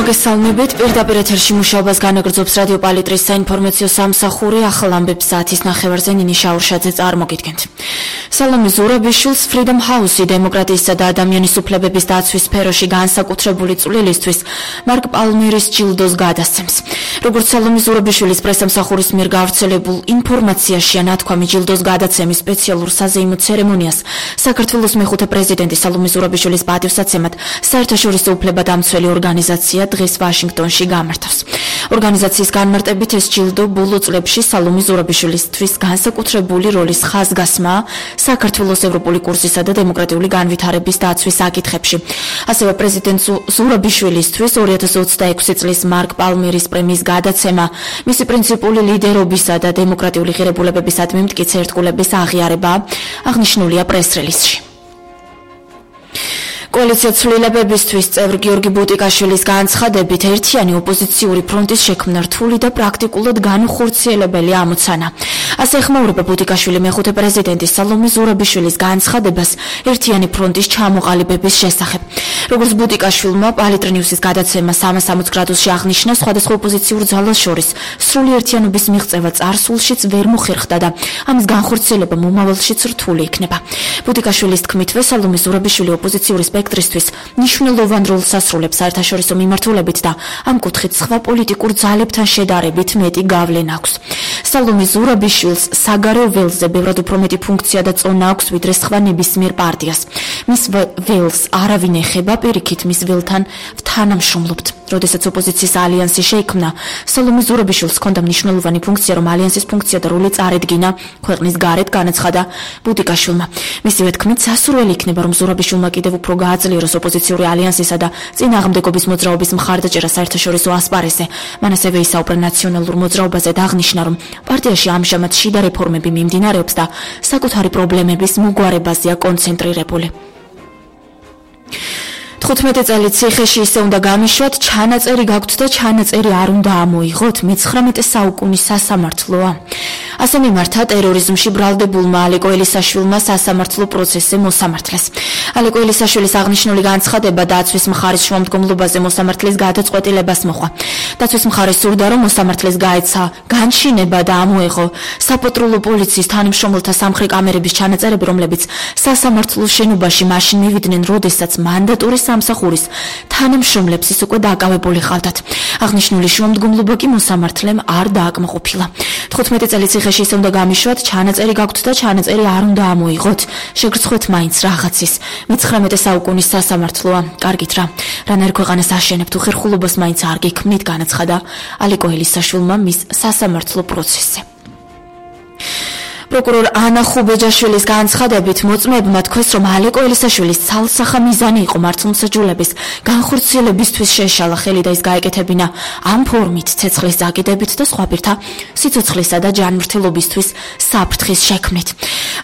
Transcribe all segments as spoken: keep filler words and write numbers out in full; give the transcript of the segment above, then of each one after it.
მოგესალმებით. პირდაპირ ეთერში მუშაობას განაგრძობს რადიო პალიტრის საინფორმაციო სამსახური. ახალ ამბებს საათის ნახევარზე ნინი შაურშაძე წარმოგიდგენთ. სალომე ზურაბიშვილს Freedom House-ი დემოკრატიისა და ადამიანის უფლებების დაცვის სფეროში განსაკუთრებული წვლილისთვის მარკ პალმერის ჯილდოს გადასცემს. როგორც სალომე ზურაბიშვილის პრესამსახურის მიერ გავრცელებულ ინფორმაციაში ანათქვამი ჯილდოს გადაცემის სპეციალურ საზეიმო ცერემონიას საქართველოს მეხუთე პრეზიდენტი სალომე ზურაბიშვილის პატივსაცემად საერთაშორისო უფლებადამცველი ორგანიზაცია დღეს ვაშინგტონში გამართავს. ორგანიზაციის განმარტებით ეს ჯილდო ბოლო წლებში სალომე ზურაბიშვილისთვის განსაკუთრებული როლის ხაზგასმაა საქართველოს ევროპული კურსისა და დემოკრატიული განვითარების დაცვის საკითხებში. ასევე პრეზიდენტ ზურაბიშვილისთვის ორი ათას ოცდაექვსი წლის მარკ პალმერის პრემიის გადაცემა, მისი პრინციპული ლიდერობისა და დემოკრატიული ღირებულებებისადმი მტკიცე ერთგულების აღიარება აღნიშნულია პრეს-რელიზში. კოალიცია ცვლილებებისთვის წევრ გიორგი ბუტიკაშვილის განცხადებით ერთიანი ოპოზიციური ფრონტის შექმნა რთული და პრაქტიკულად განუხორციელებელი ამოცანა. ასე ეხმაურება ბუტიკაშვილი მეხუთე პრეზიდენტის სალომე ზურაბიშვილის განცხადებას ერთიანი ფრონტის ჩამოყალიბების შესახებ. როგორც ბუტიკაშვილმა პალიტრი-ნიუსის გადაცემა სამას ორმოცდაოთხ გრადუსში აღნიშნა, სხვადასხვა ოპოზიციურ ძალას შორის სრული ერთიანობის მიღწევა წარსულშიც ვერ მოხერხდა და ამის განხორციელება მომავალშიც რთული იქნება. ბუტიკაშვილის თქმითვე სალომე ზურაბიშვილი ოპოზიციური სპექტრისთვის მნიშვნელოვან როლს ასრულებს საერთაშორისო მიმართულებით და ამ კუთხით სხვა პოლიტიკურ ძალებთან შედარებით მეტი გავლენა აქვს. სალომე ზურაბიშვილს საგარეო ველზე ბევრად უფრო მეტი ფუნქცია და წონა აქვს ვიდრე სხვა ნებისმიერ პარტიას. მის ველს არავინ ეხება, პირიქით მის ველთან თანამშრომლობთ. როდესაც ოპოზიციის ალიანსი შეიქმნა, სალომე ზურაბიშვილს ჰქონდა მნიშვნელოვანი ფუნქცია, რომ ალიანსის ფუნქცია და როლი წარედგინა ქვეყნის გარეთ, განაცხადა ბუტიკაშვილმა. მისივე თქმით, სასურველი იქნება, რომ ზურაბიშვილმა კიდევ უფრო გააძლიეროს ოპოზიციური ალიანსისა და წინააღმდეგობის მოძრაობის მხარდაჭერა საერთაშორისო ასპარესზე. მან ასევე ისაუბრა ნაციონალურ მოძრაობაზე და აღნიშნა, რომ პარტიაში ამჟამად შიდა რეფორმები მიმდინარეობს და საკუთარი პრობლემების მოგვარებაზეა კონცენტრირებული. თხუთმეტი წელი ციხეში ისე უნდა გამიშვათ, ჩანაწერი გაქვთ და ჩანაწერი არ უნდა ამოიღოთ, მეცხრამეტე საუკუნის სასამართლოა. ასე მიმართა ტერორიზმში ბრალდებულმა ალეკო ელისაშვილმა სასამართლო პროცესზე მოსამართლეს. ალეკო ელისაშვილის აღნიშნული განცხადება დაცვის მხარის შუამდგომლობაზე მოსამართლის გადაწყვეტილებას მოჰყვა. დაცვის მხარე სურდა, რომ მოსამართლეს გაეცა განჩინება და ამოეღო საპატრულო პოლიციის თანამშრომელთა სამხრი კამერების ჩანაწერები, რომლებიც სასამართლოს შენობაში მაშინ მივიდნენ, როდესაც მანდატური სამსახურის თანამშრომლებს ის უკვე დაკავებული ხალდათ. აღნიშნული შუამდგომლობა კი მოსამართლემ არ დააკმაყოფილა. თხუთმეტი წელი ციხეში ისე უნდა გამიშვათ, ჩანაწერი გაქვთ და ჩანაწერი არ უნდა ამოიღოთ. შეგრცხვეთ მაინც რაღაცის. მეცხრამეტე საუკუნის სასამართლოა. კარგით რა. რანაირ ქვეყანას აშენებთ, უხერხულობას მაინც არ გექმნით, განაცხადა ალეკო ელისაშვილმა მის სასამართლო პროცესზე. პროკურორ ანა ხუბეჯაშვილის განცხადებით მოწმეებმა თქვეს, რომ ალეკო ელისაშვილის ცალსახა მიზანი იყო მართლმსაჯულების განხორციელებისთვის შეშალა ხელი და ის გაეკეთებინა ამ ფორმით ცეცხლის დაკიდებით და სხვა პირთა სიცოცხლისა და ჯანმრთელობისთვის საფრთხის შექმნით.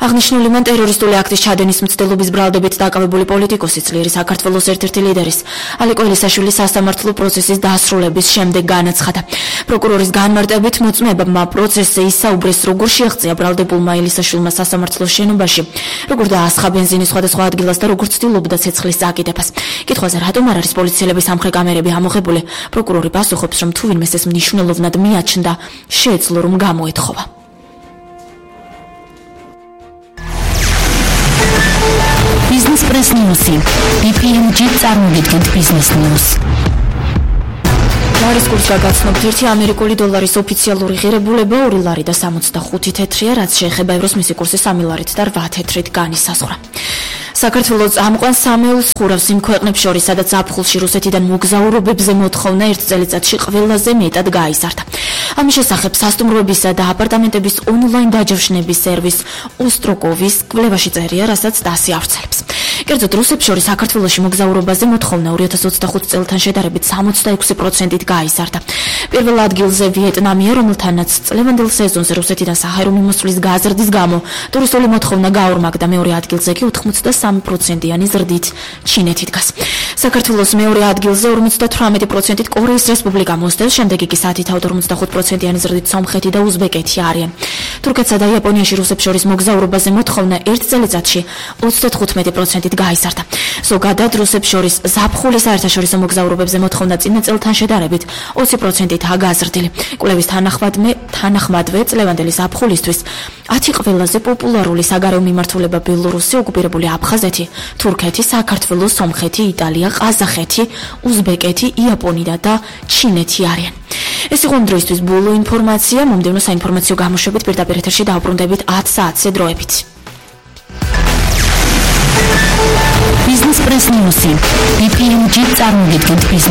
აღნიშნული მან ტერორისტული აქტის ჩადენის მცდელობის ბრალდებით დაკავებული პოლიტიკოსი, ძლიერი საქართველოს ერთ-ერთი ლიდერის ალეკო ელისაშვილის სასამართლო პროცესის დასრულების შემდეგ განაცხადა. პროკურორის განმარტებით მოწმეებმა პროცესზე ისაუბრეს, როგორ შეაღწია ბრალდებულ ელისაშვილმა სასამართლოს შენობაში, როგორ დაასხა ბენზინის სხვადასხვა ადგილას და როგორ ცდილობდა ცეცხლის წაკიდებას. კითხვაზე, რატომ არ არის პოლიციელების სამხრი კამერები ამოღებული, პროკურორი პასუხობს, რომ თუ ვინმეს ეს მნიშვნელოვნად მიაჩნდა, შეეძლო რომ გამოეთხოვა. Business Press News-ი. ბი პი ემ ჯი წარმოგიდგენთ Business News. ლარის კურსს გაგაცნობთ, ერთი ამერიკული დოლარის ოფიციალური ღირებულება ორი ლარი და სამოცდახუთი თეთრია, რაც შეეხება ევროს მისი კურსი სამი ლარით და რვა თეთრით განისაზღვრა. საქართველოს წამყვან სამეულს ხურავს იმ ქვეყნებს შორის, სადაც ზაფხულში რუსეთიდან მოგზაურობებზე მოთხოვნა ერთ წელიწადში ყველაზე მეტად გაიზარდა. ამის შესახებ სასტუმროებისა და აპარტამენტების ონლაინ დაჯავშნების სერვის ოსტროკოვის კვლევაში წერია, რასაც დასი ავრცელებს. კერძოდ რუსებს შორის საქართველოში მოგზაურობაზე მოთხოვნა ორი ათას ოცდახუთ წელთან შედარებით სამოცდაექვსი პროცენტით გაიზარდა. პირველ ადგილზე ვიეტნამია, რომელთანაც წლევანდელ სეზონზე რუსეთიდან საჰაერო მიმოსვლის გაზრდის გამო ტურისტული მოთხოვნა გაორმაგდა, მეორე ადგილზე კი ოცდასამი პროცენტიანი ზრდით ჩინეთი დგას. საქართველოს მეორე ადგილზე ორმოცდათვრამეტი პროცენტით კორეის რესპუბლიკა მოსდევს, შემდეგ იგი საათითაოდ ორმოცდახუთ პროცენტიანი ზრდით სომხეთი და უზბეკეთი არიან. თურქეთსა და იაპონიაში რუსებს შორის მოგზაურობაზე მოთხოვნა ერთ წელიწადში ოცდათხუთმეტი პროცენტით პროცენტით გაიზარდა. ზოგადად რუსებს შორის ზაფხულის საერთაშორისო მოგზაურობებზე მოთხოვნა წინა წელთან შედარებით ოცი პროცენტითაა გაზრდილი. კვლევის თანახმადვე წლევანდელი ზაფხულისთვის ათი ყველაზე პოპულარული საგარეო მიმართულება ბელორუსი, ოკუპირებული აფხაზეთი, თურქეთი, საქართველო, სომხეთი, იტალია, ყაზახეთი, უზბეკეთი, იაპონია და ჩინეთი არიან. ეს იყო ამ დროისთვის ბოლო ინფორმაცია. მომდევნო საინფორმაციო გამოშვებით პირდაპირ ეთერში დავბრუნდებით ათ საათზე დროებით. Business Press News. ბი პი ემ ჯი წარმოგიდგენთ